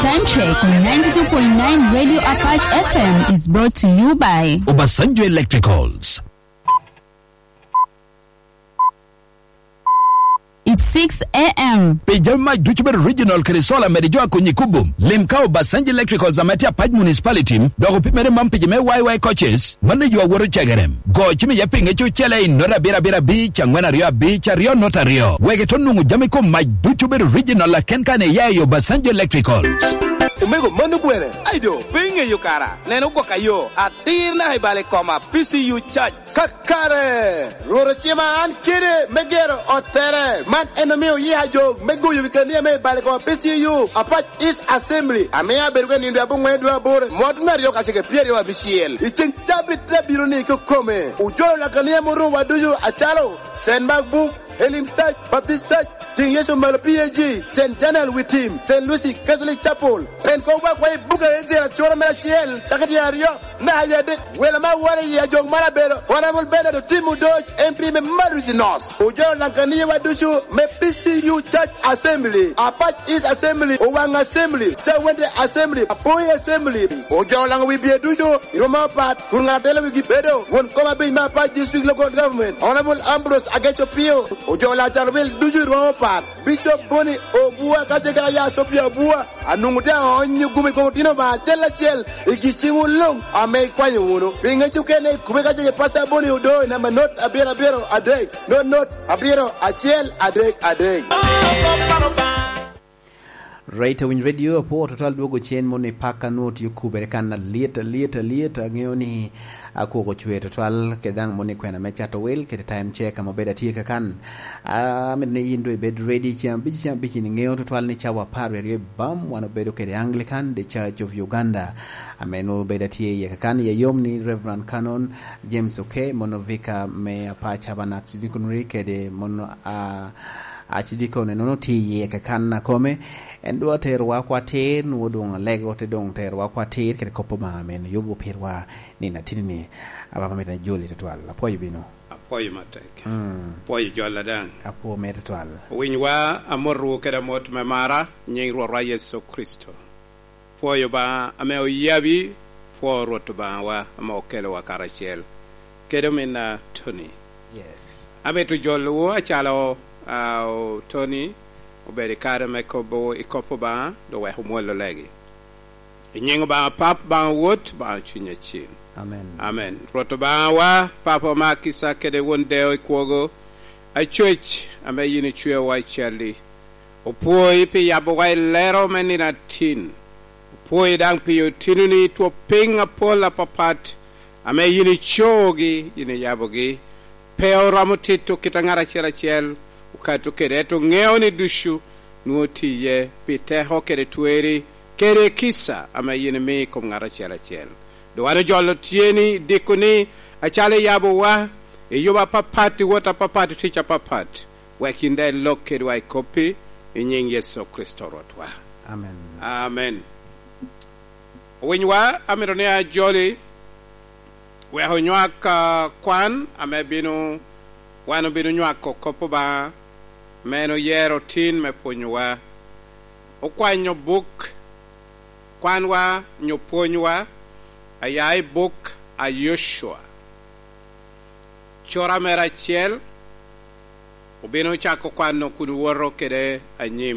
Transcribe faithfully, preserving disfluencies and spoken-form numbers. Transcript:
Time check on ninety-two point nine Radio Apache F M is brought to you by Obasanjo Electricals. It's six a m. Pi jami mac ducu bedo regional kede solar mede jo a konyi kubo. Lim ka Obasanjo Electricals ame tye Apac Municipality, dok opimere man pi jo me Y Y coaches, mano yo awoto cegere. Go cim iye pinge cucele i not abiro abiro abic, angwen aryo abic, aryo not aryo. Wek ito nwoŋo jami kom mac ducu bedo regional aken kan iya i Obasanjo Electricals. Omego, mano kwene? Ai do, pe iŋeyo kara. Nen ogwok ayo, atir naka i bal i koma, P C U charge. Kakare, Rwot ocima an kede me gero ottere. Man en omio yia jo me goyo wi kania me i bal i koma P C U, Apac East Assembly, ame abedo ka nindo aboŋwen dwe aboro, mwot me aryo kacel kede pyeraryo abicel. I ceŋ cabit te bino ni kekome, ojolo lakania morowa ducu acalo Saint Mark Book, Healing Touch, Baptist Touch, Tiŋ Yecu Malo P A G, Saint Daniel Witim, Saint Lucy Catholic Chapel. Pen koŋ wakwa i buga Ezra acura mere acel, cakere tyen aryo, naka i adek. Welo me awora i ajok man abedo Honorable Bernard Otim Odoc, M P me Malusi North. Ojolo laŋ kaniyawa ducu me P C U Church Assembly, Apac East Assembly, Owaŋ Assembly, Cawende Assembly, Apoi Assembly. Ojolo laŋ wi bye ducu i rwom apat, kun ŋat atelo wigi bedo won kom abic me Apac District Local Government, Honorable Ambrose Ageco Pio. Ojolo Lazaro Wil ducu i rwom apat, Bishop Boni Obua ka ce kara ya Sopia Obua, anwoŋo te aonyo gumi koko tino ba acel acel i gi ciŋwu luŋ ame ikwanyo wunu. Pi ŋec okene, kube ka ce Pastor Boni Odo i namba not abiro abiro adek, not not abiro acel adek adek. Right, Awiny Radio, apwo tutwal dwogo cen moni paka nwo tye okubere kan alyet, alyet, alyet. Aŋeo ni akwoko cwer tutwal, kede daŋ moni kwena me cato wil, kede time check ame obedo atye kakan. Ah, amito ni yin doŋ ibed ready, ceng abic, ceng abic in iŋeo tutwal ni cawa apar wie aryo i bam, wan obedo kede Anglican, The Church of Uganda. Ame nwo obedo atye iye kakan, iye yom ni Reverend Canon James Oke, mono Vicar me Apac Tabernacle Deaconry, kede mono, ah, Acidikon enono tye iye kakan akome, en doŋ aterowa oko atir, nwoŋo doŋ alego te doŋ terowa oko atir kede kop Obaŋa ame en oyubo pirwa nino atini-ni. Ababa mit ajoli tutwal. Apwoyo bino. Apwoyo matek. Mm. Apwoyo jolla daŋ. Apwo mere tutwal. Owinywa, amotowu kede amot me mara, nyiŋ Rwotwa Yecu Kricito. Pwoyo Obaŋa ame oyabi, pwo Rwot Obaŋawa ame okelowa karacel, kede ominna Tony. Yes. Amito jolowu acalo, ah, o-, Tony obedo i kare me kobo i kop Obaŋa, dok wek omwolo legi. I nyiŋ Obaŋa Pap, Obaŋa Wod, Obaŋa Cuny Acil. Amen. Amen. Rwot Obaŋawa, Papa me akica kede Won deŋo i kwogo, Acwec ame yin icweowa i calli, opwoi pi yabowa i lero me nino atin. Opwoi daŋ pi otinoni twop piny apol apapat ame yin icogi, yin iyabogi. Pe oromo tito kit a ŋat acel acel, okato kede, ento ŋeo ni ducu nwoŋo tiye pi teko kede tweri kede kica ame yin imio i kom ŋat acel acel. Doŋ wan ojolo tyeni i dikoni, acalo iyabowa, i yubo apapat, i wot apapat, i tic apapat. Wek yin daŋ ilok kedwa i koppi, i nyiŋ Yecu Kricito Rwotwa. Amen. Amen. Owinywa, amito ni ajoli, wek onywak, ah, kwan ame bino, wan obino nywako kop Obaŋa, ame en oyero tin me pwonyowa. Okwanyo buk kwanwa, nyo pwonywa, aya i buk a Yocua, cura mere acel, obino cako kwano kun woto kede anyim.